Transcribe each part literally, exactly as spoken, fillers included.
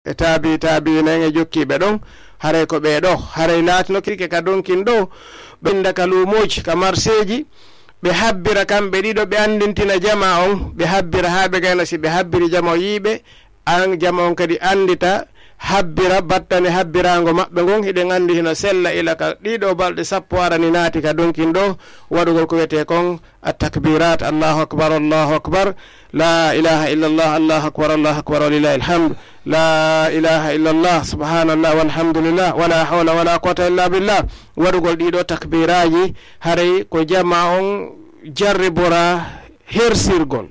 e taabi taabiina en e jokkiiɓe ɗon, haray ko ɓee ɗoo, haray laatino kirke ka donkin ɗoo, ɓe innda ka luumooji, ka marseeji, ɓe habbira kamɓe ɗiɗo, ɓe anndintina jamaa on, ɓe habbira haa ɓe gayna si ɓe habbiri jamaa on yiiɓe, an jamaa on kadi anndita, habbira battane habbiraango maɓɓe ngon, hiɗen anndi hino sella ila ka ɗiɗo balɗe sappo arani naati ka donkin ɗoo, waɗugol ko wiyetee kon, التكبيرات، الله أكبر، الله أكبر، لا إله إلا الله، الله أكبر، الله أكبر، ولله الحمد، لا إله إلا الله، سبحان الله، والحمد لله، ولا حول ولا قوة إلا بالله. Waɗugol ɗiɗo takbiraaji, haray ko jamaa on jarribora hersirgol.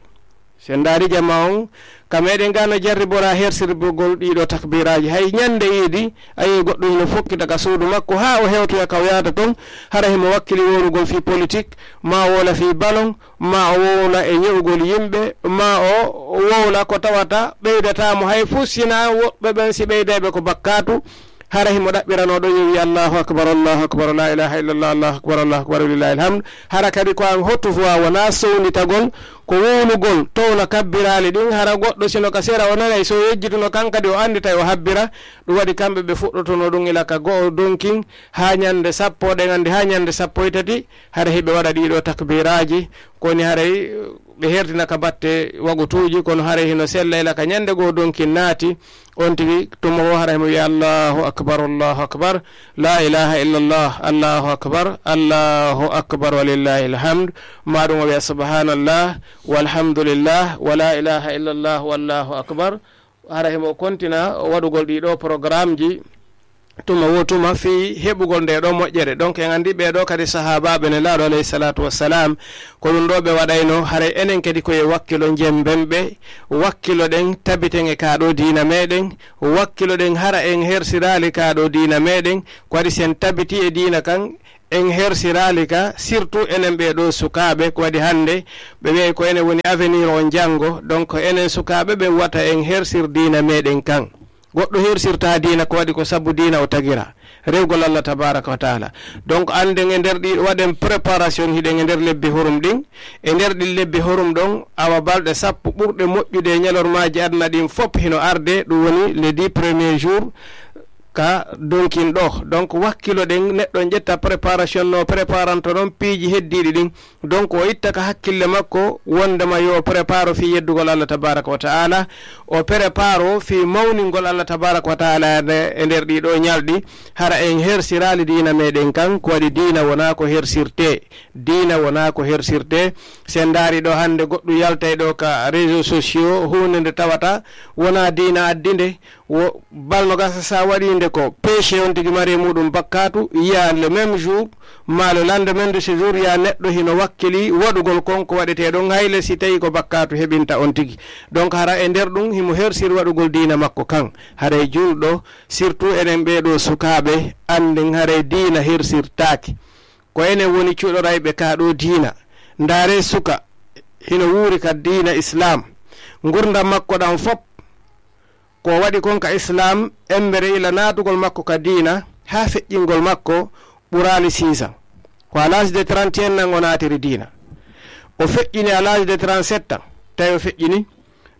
Si en ndaari jamaa on, ka meɗen ga no jarribora hersirgol ɗiɗo takbiraaji. Hay ñande iidi, a yi'ay goɗɗo hino fokkita ka suudu makko, haa o hewtoya ka o yahata ton, hara himo wakkili wowlugol fii politik, maa o wowla fii balon, maa o wowla e ñe'ugol yimɓe, maa o wowla ko tawata ɓeydataa mo hay fuu, si hinaa woɓɓe ɓen si ɓeydayɓe ko bakkaatu, hara himo ɗaɓɓiranoo ɗon yo wi'a, "Allahu akbar, Allahu akbar, la ilaha illallah, Allahu akbar, Allahu akbar, walillahi alhamd." Hara kadi ko an hoto fuu a wonaa sownditagol, ko wowlugol, towna kabbiraali ɗin, hara goɗɗo si no ka sera o nanay, si o yejjituno kan kadi o annditay o habbira. Ɗum waɗi kamɓe ɓe fuɗɗotonoo ɗum ila ka go'o donkin, haa ñande sappo, ɗen anndi haa ñande sappo e tati, hara hiɓe waɗa ɗiɗo takbiraaji, ko woni haray ɓe hertina ka batte wagutuuji, kono haray hino sella ila ka ñande go'o donkin naati, on tigi tuma wo haray mo wi'a, "Allahu akbar, Allahu akbar, la ilaha illallah, Allahu akbar, Allahu akbar, walillahi alhamd." Maa ɗum o wi'a, "Subhanallah, walhamdulillah, wa la ilaha illallah, wallahu akbar." Hara himo kontina waɗugol ɗiɗo programmeji tuma wo tuma fii heɓugol nde ɗo moƴƴere. Donc, en anndi ɓee ɗo kadi sahaabaaɓe Nelaaɗo, alayhi salatu wassalam, ko ɗum ɗo ɓe waɗayno. Haray enen kadi ko e wakkilo jemben ɓe, wakkilo ɗen, tabiten e kaa ɗo diina meɗen, wakkilo ɗen hara en hersiraali kaa ɗo diina meɗen, ko waɗi si en tabiti e diina kan, en hersiraali ka, surtout enen ɓee ɗo sukaaɓe, ko waɗi hannde ɓe wi'ay ko enen woni avenir on janngo. Donc, enen sukaaɓe ɓe wata en hersir diina meɗen kan. Goɗɗo hersirtaa diina, ko waɗi ko sabu diina o tagira, rewgol Allah tabaraka wa taala. Donc, annden e nder ɗi, waɗen préparation, hiɗen e nder lebbi hurum ɗin. E nder ɗin lebbi hurum ɗon, awa balɗe sappo ɓurɗe moƴƴude e ñalormaaji aduna ɗin fop hino arde, ɗum woni les dix premiers jours ka donkin ɗo. Donc, wakkilo ɗen, neɗɗo on ƴetta préparation no préparanto ɗon piiji heddiiɗi ɗin. Donc, o itta ka hakkille makko wondema yo préparo fii yeddugol Allah tabaraka wa taala, o préparo fii mawningol Allah tabaraka wa taala e nde-, e nder ɗii ɗoo ñalɗi. Hara en hersiraali diina meɗen kan, ko waɗi diina wonaa ko hersirtee. Diina wonaa ko hersirtee. Si en ndaari ɗo hannde goɗɗum yaltay ɗo ka réseaux sociaux, huunde nde tawata wonaa diina addi nde, wo balno gasa sa waɗi nde ko péché on tigi mari e muɗum bakkaatu, yiya le même jour, maa le lendemain de ce jour, ya neɗɗo hino wakkili waɗugol kon ko waɗetee ɗon, hayle si tawi ko bakkaatu heɓinta on tigi. Donc, hara e nder ɗum himo hersir waɗugol diina makko kan. Haray julɗo, surtout enen ɓee ɗoo sukaaɓe, annden haray diina hersirtaake. Ko enen woni cuɗorayɓe kaa ɗoo diina. Ndaaree suka hino wuuri ka diina Islaam. Ngurndan makko ɗan fop, ko waɗi kon ka Islaam, embere ila naatugol makko ka diina, haa feƴƴingol makko ɓuraali six ans. Ko à l'âge de trente et un nan o naatiri diina. O feƴƴini à l'âge de trente-sept ans, tawi o feƴƴini.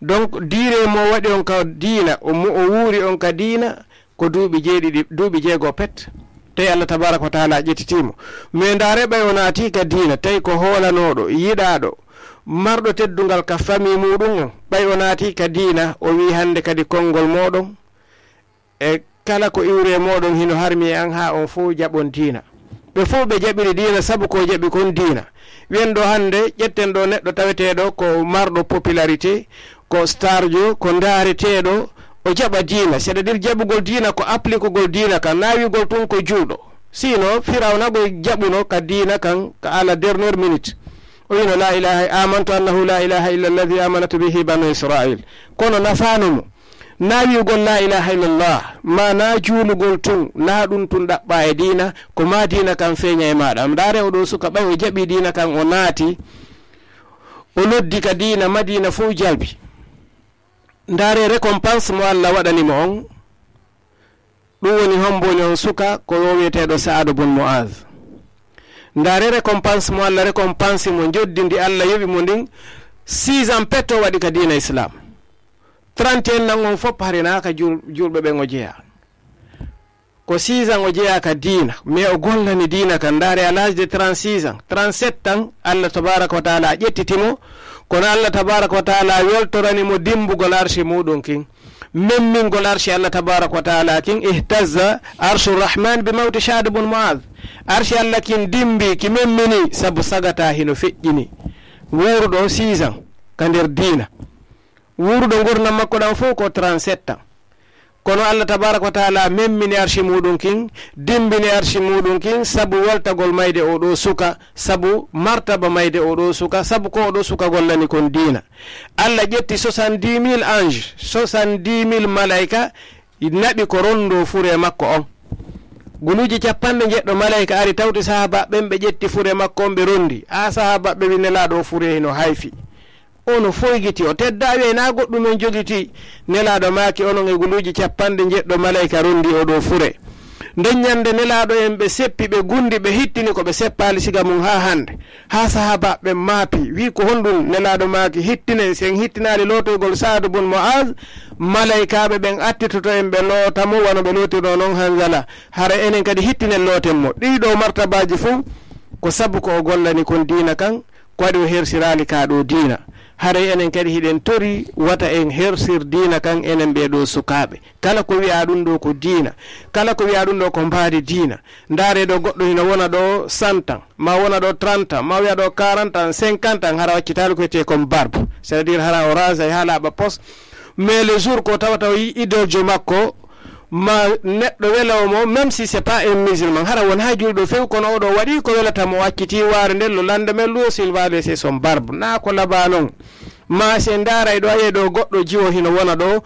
Donc, diire mo waɗi on ka diina, o mo o wuuri on ka diina, ko duuɓi jeeɗiɗi, duuɓi jeego pet, tawi Allah tabaraka wa taala ƴettitiimo. Mais ndaare ɓay o naati ka diina, tawi ko hoolanooɗo, yiɗaaɗo, marɗo teddungal ka famille muɗum on, ɓay o naati ka diina, o wii hannde kadi konngol mooɗon e kala ko iwri e mooɗon hino harmi e an, haa on fow jaɓon diina. Ɓe fow ɓe jaɓiri diina sabu ko jaɓi kon diina. Wiyen ɗo hannde, ƴetten ɗo neɗɗo taweteeɗo ko marɗo popularité, ko starjo, ko ndaareteeɗo, o jaɓa diina. C'est-à-dire jaɓugol diina ko applikugol diina kan, na wi'ugol tun ko julɗo. Sinon, Firawna ko jaɓuno ka diina kan ka à la dernière minute. O wi'no, "La ilaha, amantu annahu la ilaha illa alladhi amanat bihi banu Israil." Kono nafaano mo. Na wi'ugol "La ilaha illallah", ma na juulugol tun, na ɗun tun ɗaɓɓa e diina, ko ma diina kan feeña e maaɗa. Ndaare o ɗo suka ɓay o jaɓi diina kan, o naati, o noddi ka diina, Madiina fow jalbi. Ndaare récompense mo Allah waɗani mo on. Ɗum woni hombo woni on suka ko o wi'eteeɗo Sa'adu bun Mu'az. Ndaare récompense mo Allah récompense mo, njoddi ndi Allah yoɓi mo ndin, six ans pet o waɗi ka diina Islam. Trente et un nan on fof harenaaka jul-, julɓe ɓen o jeyaa. Ko six ans o jeyaa ka diina, mais o gollani diina kan. Ndaare, à l'âge de trente-six ans, trente-sept ans, Allah tabaraka wa taala ƴettiti mo, kono Allah tabaraka wa taala weltorani mo dimbugol arshi muɗum kin. Memmingol arshi Allah tabaraka wa taala kin, ihtazza arshu rahman bi mawti Sa'd bun Mu'adh. Arshi Allah kin dimbi, ki memmini, sabu sagata hino feƴƴini. Wuuruɗo six ans ka nder diina. Wuuruɗo ngurndan makko ɗan fof ko trente-sept ans. Kono Allah tabaraka wa taala memmini arshi muɗum kin, dimbini arshi muɗum kin, sabu weltagol mayde o ɗo suka, sabu martaba mayde o ɗo suka, sabu ko o ɗo suka gollani kon diina. Allah ƴetti soixante-dix mille anges, soixante-dix mille malaika, naɓi ko rondo fure makko on. Guluuji capanɗe njeɗɗo malaika ari tawti sahaba ɓen, ɓe ƴetti fure makko on, ɓe rondi. A sahaba ɓe wi Nelaɗo, o fure hino hayfi. Ono foygiti, o tedda, wi'ay na goɗɗum en jogiti. Nelaɗo maaki, onon e guluuji capanɗe njeɗɗo malaika rondi o ɗo fure. Nden ñande Nelaɗo en ɓe seppi, ɓe gundi, ɓe hittini ko ɓe seppaali siga mum ha hande. Ha sahaba ɓen maapi, wi ko honɗum? Nelaɗo maaki, hittinen, si en hittinaali lootoygol Sa'd bun Mu'adh, malaikaaɓe ɓen attitoto en ɓe loota mo wano ɓe lootirno non Hanzala. Hara enen kadi hittinen looten mo. Ɗiɗo martabaji fof ko sabu ko o gollani kon diina kan, ko waɗi o hersiraali ka ɗo diina. Haray enen kadi hiɗen tori wata en hersir diina kan enen ɓee ɗo sukaaɓe. Kala ko wi'aa ɗum ɗo ko diina, kala ko wi'aa ɗum ɗo ko mbaadi diina. Ndaaree ɗo goɗɗo hino wona ɗo cent ans, ma wona ɗo trente ans, ma wi'a ɗo quarante ans, cinquante ans, hara waccitaali ko wiyetee kon barbe. C'est-à-dire hara o raasay haa laaɓa pos. Mais le jour ko tawata o yi idoljo makko, ma neɗɗo welawo mo, même si c'est pas un musulman, hara won hay julɗo few, kono oɗo waɗi ko welata mo, o acciti waare nden, le lendemain lui aussi il va laisser son barbe. Na ko labaa non. Ma se ndaaray ɗo, ayey ɗo goɗɗo jiwo hino wona ɗo,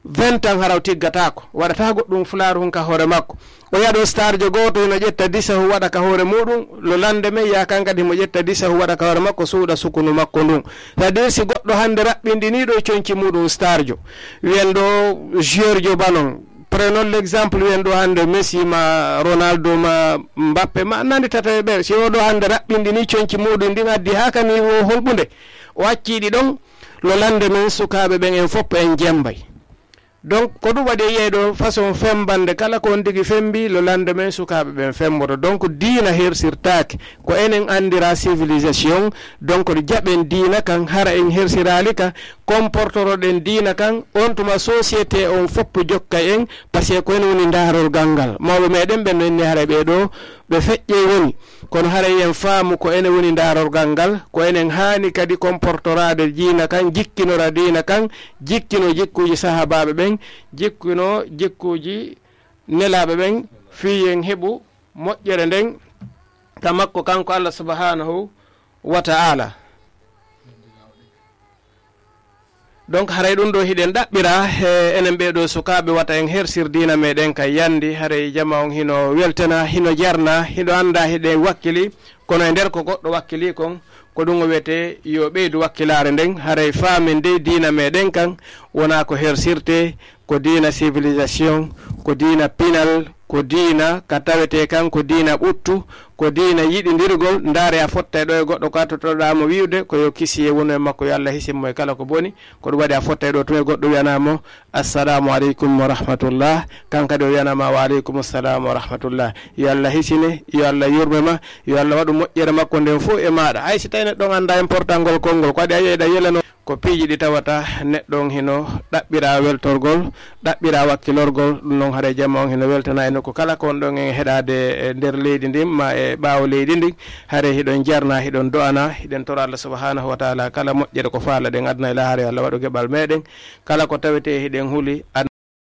vingt ans hara o tiggataako, waɗata goɗɗum fulaaru hun ka hoore makko. O yi'a ɗo starjo gooto hino ƴetta disahu waɗa ka hoore muɗum, le lendemain yi'a kan kadi himo ƴetta disahu waɗa ka hoore makko, suuɗa sukunu makko ndun. C'est-à-dire si goɗɗo hande raɓɓinɗini ɗo conci muɗum starjo, wi'en ɗo joueurjo ba non, prenons l'exemple, wi'en ɗo hande Messi ma Ronaldo ma Mbappe ma nandi tata e ɓe, si o ɗo hande raɓɓinɗini conci muɗum ndin addi haa ka niveau holɓunde, o acci ɗi ɗon, le lendemain sukaaɓe ɓen en fof en jembay. Donc, ko ɗum waɗi e yi'ay ɗo façon fembande, kala ko on tigi fembi, le lendemain sukaaɓe ɓen femboto. Donc, diina hersirtaake. Ko enen anndira civilisation. Donc, jaɓen diina kan, hara en hersiraali ka, comportoroɗen diina kan, on tuma société on fof jokkay en, parce que ko en woni ndaarorgal ngal. Mawɓe meɗen ɓen no inni haray ɓee ɗo, ɓe feƴƴe woni, kono haray en faamu ko enen woni ndaarorgal ngal, ko enen haani kadi comportoraade diina kan, jikkinora diina kan, jikkino jikkuuji sahaabaaɓe ɓen, jikkino jikkuuji nelaaɓe ɓen, fii en heɓu moƴƴere nden ka makko kanko Allah subhanahu wa ta'ala. Donc, haray ɗum ɗo hiɗen ɗaɓɓira he enen ɓee ɗo sukaaɓe, wata en hersir diina meɗen ka yandi, haray jama on hino weltana, hino jarna, hino annda hiɗen wakkili, kono e nder ko goɗɗo wakkili kon, ko ɗum o wiyete yo ɓeydu wakkilaare nden, haray faamen dey diina meɗen kan, wona ko hersirte, ko diina civilisation, ko diina pinal, ko diina ka tawetee kan ko diina ɓuttu, ko diina yiɗindirgol. Ndaare, a fottay ɗo e goɗɗo ko a tottoɗaa mo wi'ude ko yo kisiyee wonu e makko, yo Allah hisin mo e kala ko boni. Ko ɗum waɗi a fottay ɗo tun e goɗɗo wi'anaa mo, "Assalamu aleykum wa rahmatullah." Kan kadi o wi'anaa ma, "Wa aleykum salam wa rahmatullah." Yo Allah hisine, yo Allah yurme ma, yo Allah waɗu moƴƴere makko nden fof e maaɗa. Hay si tawi neɗɗo on anndaa important ngol konngol, ko waɗi a yi'ay ɗa yelano. Ko piiji ɗi tawata neɗɗo on hino ɗaɓɓira weltorgol, ɗaɓɓira wakkilorgol, ɗum noon haray jama on hino weltana e nokku kala ko on ɗon en heɗaade e nder leydi ndin, ma e ɓaawo leydi ndin, haray hiɗon jarna, hiɗon do'ana, hiɗen tora Allah subhanahu wa ta'ala kala moƴƴere ko faalaɗen aduna e laahara, yo Allah waɗu geɓal meɗen, kala ko tawetee hiɗen huli,